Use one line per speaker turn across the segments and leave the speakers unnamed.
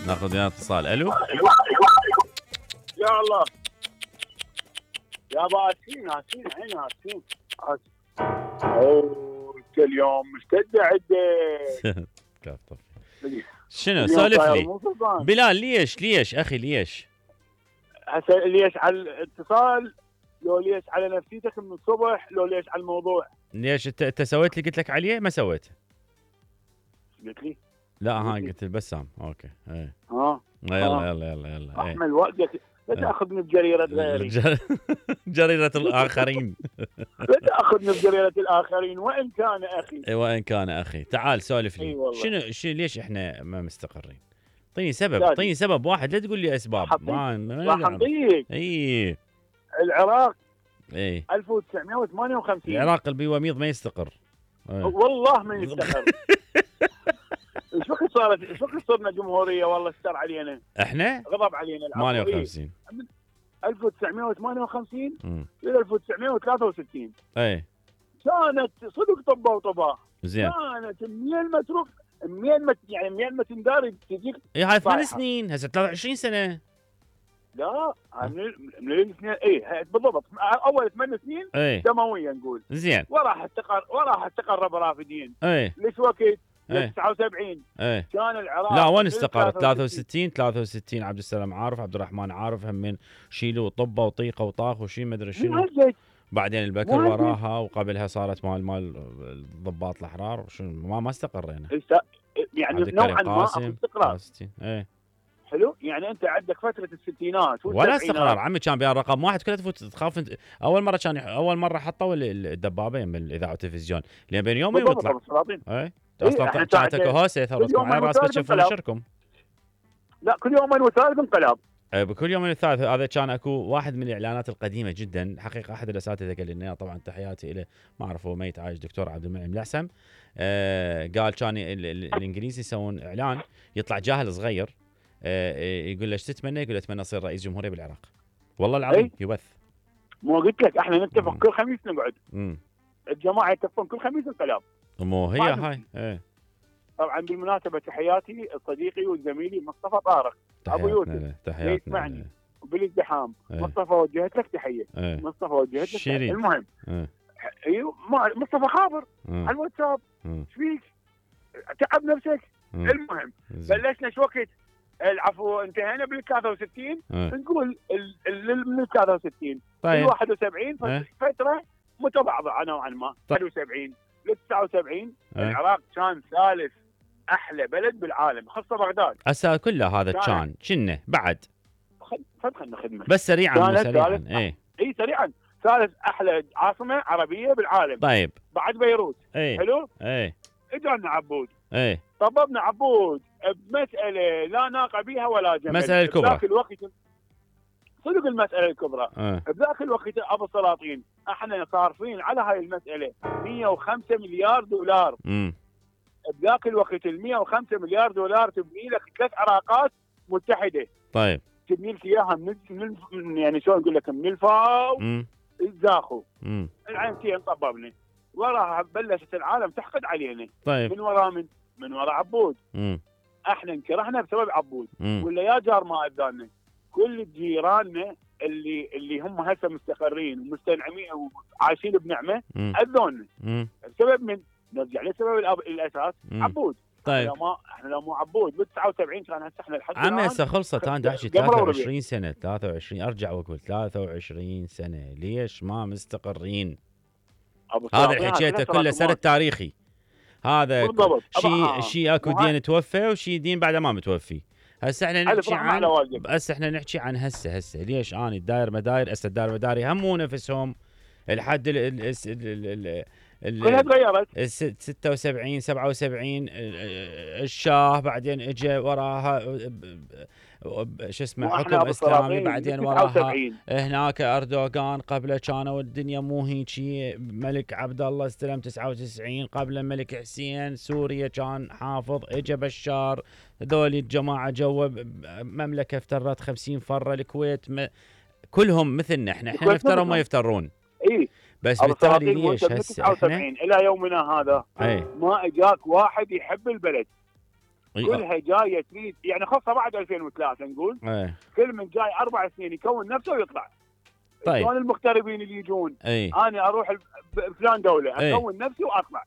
ناخذ وياه اتصال. الو
يا الله يا باسين هاسين عين هاسين انت اليوم مشتده عندك.
شنو سولف لي بلال؟ ليش اخي ليش؟
هسه ليش على الاتصال؟ لو ليش على نفسيتك من الصبح؟ لو ليش على الموضوع؟
ليش انت سويت اللي قلت لك عليه؟ ما سويت؟
قلت لي
لا ها قلت البسام. اوكي ايه يلا
احمل وقتك لا تاخذني بجريره غيري.
جريره الاخرين.
لا تاخذني بجريره الاخرين وان كان اخي.
وان كان اخي. تعال سولف لي. شنو ليش احنا ما مستقرين؟ اعطيني سبب واحد، لا تقول لي اسباب.
راح اعطيك.
اي
العراق
1958 العراق البيوميض ما يستقر.
والله ما يستقر. ايش وقت صرنا جمهوريه؟ والله استر علينا احنا، غضب علينا.
58
1958 الى 1963
اي
كانت صدق طبه وطباه.
زين
كانت منين ما تروح يعني منين ما تندار تجيك.
اي هاي 8 سنين، هسه 23 سنه.
لا من الاثنين اي بالضبط. اول 8 سنين دمويه نقول.
زين
وراح استقر برافدين. ليش وقت 79 كان العراق.
لا وين استقر؟ 63 عبد السلام عارف، عبد الرحمن عارف، هم شيلوا طبه وطيقه وطاخ وشي ما ادري شنو. بعدين البكر وراها، وقبلها صارت مال الضباط الاحرار. شنو ما استقرينا
يعني نوعا ما استقرار. حلو. يعني انت عندك فتره الستينات
ولا استقرار عمي. كان بها رقم واحد كلها تفوت تخاف انت. اول مره حطوا الدبابه يم الاذاعه والتلفزيون لين بين يومين ويطلع. اصلا طلعتك هوسه ثبتكم على راسك تشوفون نشركم.
لا كل يومين وثالث انقلاب.
بكل يومين والثالث. هذا كان اكو واحد من الاعلانات القديمه جدا حقيقه. احد الاساتذه قال لنا طبعا تحياتي له، ما اعرف هو ميت عايش، دكتور عبد المنعم العسم. قال كان الانجليزي يسوون اعلان يطلع جاهل صغير يقول له ايش تتمنى؟ يقول له اتمنى اصير رئيس جمهوريه بالعراق. والله العظيم يبث.
مو قلت لك احنا نتفق كل خميس نقعد. الجماعه يتفقون كل خميس انقلاب.
مو هي هاي.
طبعا بالمناسبه تحياتي صديقي وزميلي مصطفى طارق ابو يوسف يسمعني وبالازدحام. مصطفى وجهت لك تحيه. مصطفى وجهت لك تحيه. المهم مصطفى خابر على الواتساب. ايش فيك؟ تعب نفسك. المهم بلشنا شو وقت؟ العفو انتهينا بال 63 نقول من 63
طيب
71 فتره متباعده نوعا ما. 71 ل 79 العراق كان ثالث احلى بلد بالعالم خاصه بغداد.
هسه كله هذا كنا بعد
خدنا خدمه
بس سريعا
اي سريعا ثالث احلى عاصمه عربيه بالعالم.
طيب
بعد بيروت. حلو. اجانا عبود. طببنا عبود بمساله لا ناقه بها ولا جمل.
مساله الكبرى.
بذاك الوقت صدق المساله الكبرى. بذاك الوقت ابو السلاطين احنا صارفين على هاي المساله 105 مليار دولار. بذاك الوقت ال 105 مليار دولار تبني لك 3 عراقات متحده.
طيب
تبني لك اياها من يعني شلون اقول لك من الفاو الزاخو. العينتين طببنا. وراها بلشت العالم تحقد علينا.
طيب
من وراء عبود. احنا انكرهنا بسبب عبود. ولا يا جار ما اذانا كل جيراننا اللي هم هسه مستقرين ومستنعمين وعايشين بنعمه اذونا بسبب من نرجع لسبب الاساس عبود.
طيب
احنا لو مو عبود بال 79 كان هسه احنا لحد
عمي هسه خلصت. انا احكي 23 سنه 23 ارجع واقول 23 سنه ليش ما مستقرين؟ هذا اللي حكيته كله سرد تاريخي. هذا شيء اكو دين توفى وشيء دين بعد ما متوفي. هسه احنا نحكي عن هسه ليش اني الداير مداير. هسه الداير مداري هم مو نفسهم الحد
كلها تغيرت.
76 77 الشاه بعدين اجى وراها شو اسمه حكم اسلامي بعدين وراها هناك اردوغان قبله كانوا الدنيا مو هيجي. ملك عبد الله استلم 99 قبل الملك حسين. سوريا كان حافظ اجى بشار. هذول الجماعه جوا مملكه افترت 50 فره. الكويت كلهم مثلنا احنا نفتروا ما يفترون. بس بالتالي ليش هسه احنا
الى يومنا هذا ما اجاك واحد يحب البلد. كلها جايه تريد يعني خاصه بعد 2003 نقول كل من جاي 4 سنين يكون نفسه ويطلع.
طيب
شلون المغتربين اللي يجون انا اروح فلان دوله اكون نفسي واطلع.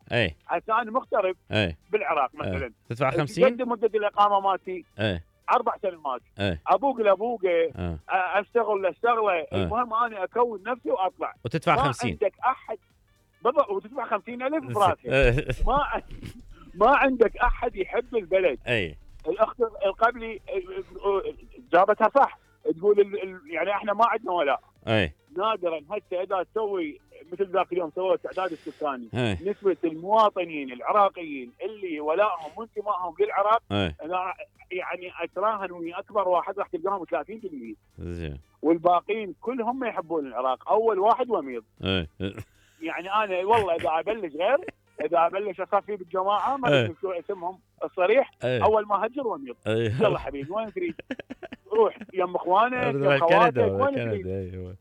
هسه انا مغترب بالعراق مثلا
تدفع 50
قد مده الاقامه مالتي 4 سنوات ابوق لابوقه اشتغل المهم انا اكون نفسي واطلع
وتدفع 50
ما عندك احد بالضبط وتدفع 50,000 براسك ما عندك احد يحب البلد. الاخت القبلي جابتها صح تقول يعني احنا ما عندنا ولاء. نادرا هسه اذا تسوي مثل ذاك اليوم سووا التعداد السكاني نسبه المواطنين العراقيين اللي ولائهم وانتمائهم للعراق انا يعني اتراهن ويا اكبر واحد راح تلقاهم 30%.
زين
والباقيين كلهم ما يحبون العراق. اول واحد وميض. يعني انا والله اذا ابلش غير اذا ابلش اصفي بالجماعه ما ادري شو اسمهم الصريح اول ما هجر وميض. يلا حبيبي وين تريد؟ روح يم اخوانك يم خواتك وين تريد؟ ايوه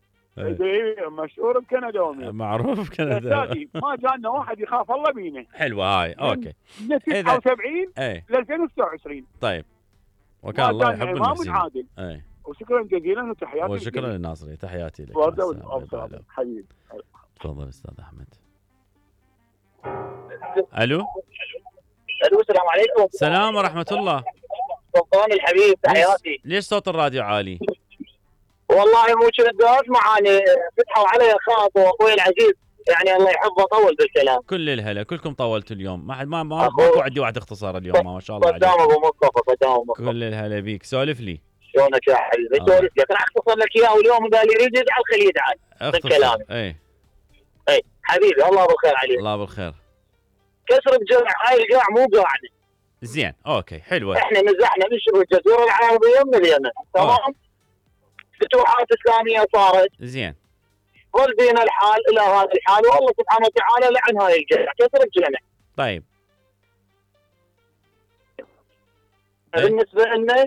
مشهور بكندا وميض
معروف بكندا.
ما جانا واحد يخاف الله بينا.
حلوه هاي اوكي
من 79 ل 2026.
طيب وكان الله يحب المحسنين.
عادل. وشكرا جزيلا وتحياتي.
وشكرا للناصري تحياتي لك.
حبيبي
تفضل استاذ احمد. الو
السلام عليكم.
السلام ورحمه الله.
سلطان الحبيب تحياتي.
ليش صوت الراديو عالي؟
والله مو كنت اسمع فتحوا علي خاط واخوي العزيز يعني الله يحفظه طول بالكلام.
كل الهلا كلكم طولتوا اليوم ما ماكو عندي واحد اختصار اليوم ما شاء الله عليك.
قدام ابو مصطفى قدام ابو مصطفى.
كل الهلا بيك سولف لي.
شلونك يا حبيبي؟ سولف لك راح اختصر لك اياه واليوم قال يريد يزعل خليه يزعل بالكلام. اي حبيبي الله بالخير عليك.
الله بالخير.
كسر بجمع هاي القاع مو قاعده.
زين اوكي حلوه.
احنا نزحنا من شبه الجزيره العربيه من اليمن تمام. فتوحات اسلاميه صارت.
زين.
ظل بينا الحال الى هذا الحال والله سبحانه وتعالى لعن هاي الجمع كسر الجمع.
طيب.
بالنسبه لنا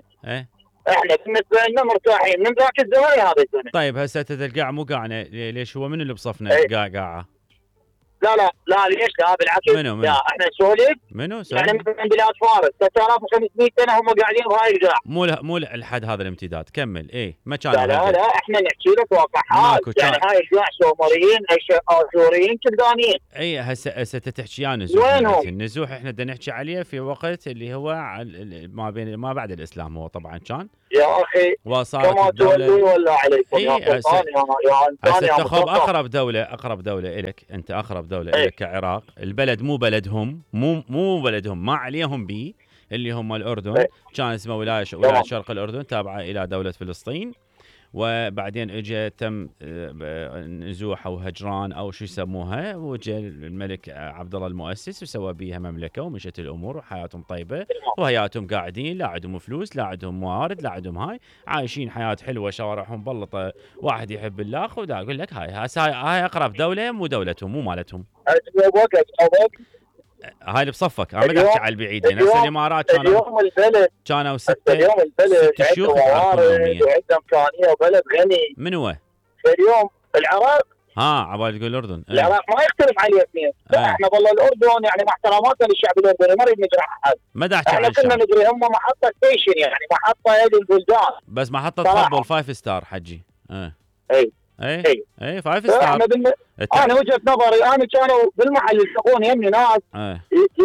احنا بالنسبه لنا مرتاحين من ذاك الزمن لهذا الزمن.
طيب هسه القاع مو قاعنا ليش هو من اللي بصفنا قاعه؟
لا ليش لا بالعكس.
منو؟
لا احنا نسولف
منو
يعني مثلا بلاد فارس 3500 سنه هم قاعدين بهاي القاع.
مو الحد هذا الامتداد كمل ما كان.
لا احنا نحكي لك واقعات يعني هاي القاع سومريين اشوريين كلدانيين.
هسه تحكي عن نزوح. النزوح احنا بدنا نحكي عليه في وقت اللي هو ما بعد الاسلام هو طبعا كان
يا اخي
وصارت
كما تولي ولا عليكم يا سلطان
هسه تاخذ اقرب دوله الك انت اقرب دوله الك كعراق. البلد مو بلدهم مو بلدهم ما عليهم بيه اللي هم الاردن. كان اسمه ولايه شرق الاردن تابعه الى دوله فلسطين وبعدين اجى تم نزوح او هجران او شو يسموها وجاء الملك عبد الله المؤسس وسوى بيها مملكه ومشت الامور وحياتهم طيبه وهياتهم قاعدين لا عندهم فلوس لا عندهم موارد لا عندهم هاي عايشين حياه حلوه شوارعهم بلطه واحد يحب الله ودا اقول لك هاي اقرب دوله مو دولتهم مو مالتهم. هاي اللي بصفك انا ما احكي على البعيدين. هسه الامارات كانوا 6 شيوخ
وعندهم امكانيه وبلد غني.
من هو؟
اليوم العراق
عبالي تقول الاردن.
العراق ما يختلف عليه اثنين. احنا والله الاردن يعني مع احتراماتنا للشعب الاردني ما نريد نجرح احد.
ما دا احكي
احنا كنا ندري هم محطه ستيشن يعني محطه هذه البلدان
بس محطه تقبل 5 ستار حجي. اي 5 ستار.
انا وجهه نظري انا كانوا بالمحل يلتقون يمني ناس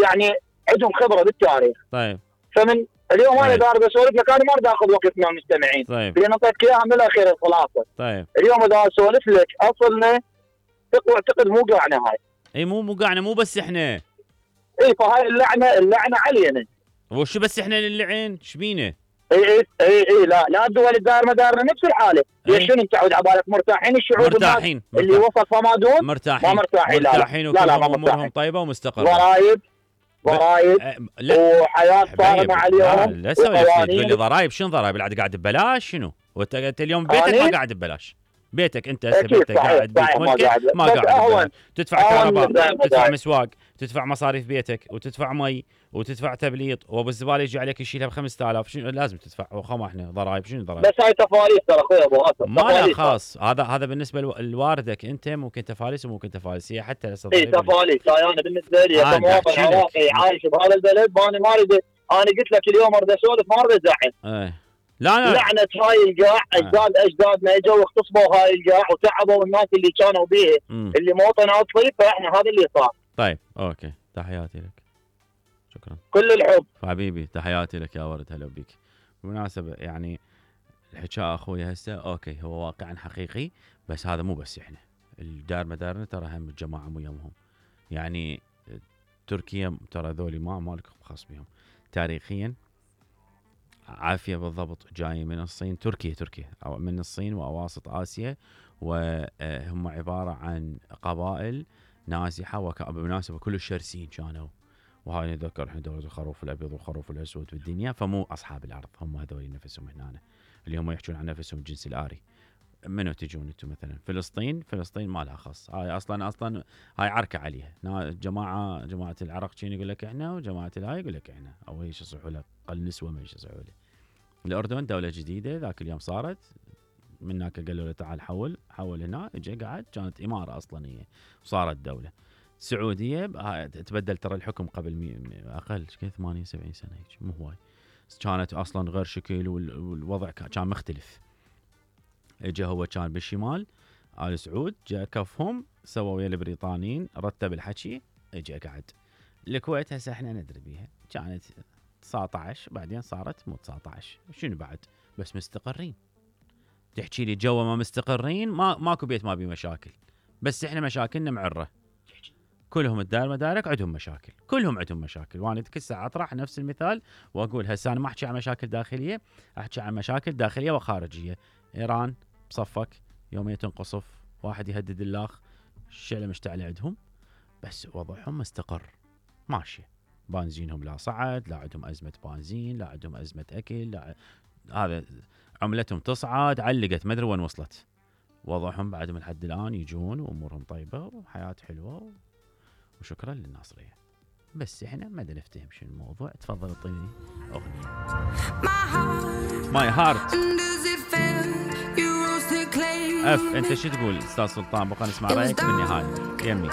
يعني عندهم خبره بالتاريخ.
طيب
فمن اليوم انا دار بسولف لك انا ما اريد اخذ وقت من المستمعين.
طيب
لان اعطيتك اياها من الاخير الخلاصه.
طيب
اليوم اذا اسولف لك اصلنا اعتقد مو قاعنا هاي.
مو قاعنا مو بس احنا.
فهاي اللعنه علينا.
وشو بس احنا اللعين شبينا؟
اي لا الدول الدائره مدارنا نفس الحاله. ليش شنو انت تعود على بالك مرتاحين الشعوب
مرتاحين
اللي وصل فمادون
مرتاحين
ما مرتاحين
لا امورهم طيبه ومستقره.
ضرائب وحياه صارمه عليهم.
لا سوي تقول لي ضرائب شنو ضرائب قاعد ببلاش شنو؟ وانت اليوم بيتك ما قاعد ببلاش. بيتك انت هسه بيتك قاعد بيت ملكك ما قاعد تدفع كهرباء تدفع مسواق تدفع مصاريف بيتك وتدفع مي وتدفع تبليط وابو الزباله يجي عليك يشيلها ب 5000 شنو لازم تدفع وخما احنا ضرائب شنو ضرائب؟
بس هاي تفاريس ترى اخوي ابو هاتف
ما لا خاص هذا بالنسبه لواردك انت ممكن تفاريس وممكن تفاريس هي حتى
تفاريس. انا بالنسبه لي كمواطن عراقي عايش بهذا البلد انا ما اريد انا قلت لك اليوم اريد اسولف ما اريد ازعل.
لا
لعنه هاي القاع، اجدادنا اجوا واغتصبوا هاي القاع وتعبوا الناس اللي كانوا بيه اللي موطن اصلي، فاحنا هذا اللي صار.
طيب اوكي، تحياتي لك، شكرا،
كل الحب
حبيبي، تحياتي لك يا ورد، هلا بيك. بالمناسبه يعني الحكايه اخوي هسه اوكي هو واقعا حقيقي، بس هذا مو بس احنا الدار مدارنا، ترى هم الجماعه مو يمهم. يعني تركيا ترى ذولي مالك خاص بهم تاريخيا. عافيه بالضبط جاي من الصين، تركيا أو من الصين واواسط اسيا، وهم عباره عن قبائل نازحه وبالمناسبه كل الشرسين كانوا، وهاي نتذكر احنا دوله الخروف الابيض والخروف الاسود بالدنيا، فمو اصحاب الارض هم هذول نفسهم هنا اللي هم يحكون عن نفسهم الجنس الآري. منو تجون انتم مثلا؟ فلسطين ما لها خص، هاي اصلا هاي عركه عليها، جماعه العرق شين يقول لك احنا، وجماعه الهاي يقول لك احنا، او ايش يصيحوا له قل نسوه ما ايش يصيحوا له. الاردن دوله جديده ذاك اليوم صارت، من هناك قالوا له تعال حول هنا، اجى قعد، كانت اماره اصلا هي وصارت دوله. السعوديه تبدل ترى الحكم قبل اقل 78 سنه هيك، مو هواي، كانت اصلا غير شكل والوضع كان مختلف. اجى هو كان بالشمال آل سعود، جاء كفهم سووا ويا البريطانيين، رتب الحكي، اجى قعد. الكويت هسه احنا ندري بيها، كانت 19 بعدين صارت مو 19، شنو بعد؟ بس مستقرين. تحكي لي جوا ما مستقرين، ماكو بيت ما بيه مشاكل، بس احنا مشاكلنا معره. كلهم الدار مدارك عندهم مشاكل، كلهم عندهم مشاكل، وانا كل ساعه اطرح نفس المثال واقول هسه انا ما احكي عن مشاكل داخليه، احكي عن مشاكل داخليه وخارجيه. ايران بصفك يوميا تنقصف، واحد يهدد الاخ، الشعله مشتعله عندهم، بس وضعهم مستقر ماشيه. بنزينهم لا صعد، لا عندهم ازمه بنزين، لا عندهم ازمه اكل، لا هذا عملتهم تصعد، علقت ما ادري وين وصلت. وضعهم بعدهم لحد الان يجون وامورهم طيبه وحياه حلوه وشكرا للناصريه. بس احنا ما نفتهم شنو الموضوع. تفضل اعطيني اغنيه. ماي هارت اف. انت شو تقول استاذ سلطان؟ بقى نسمع رايك بالنهايه يمي.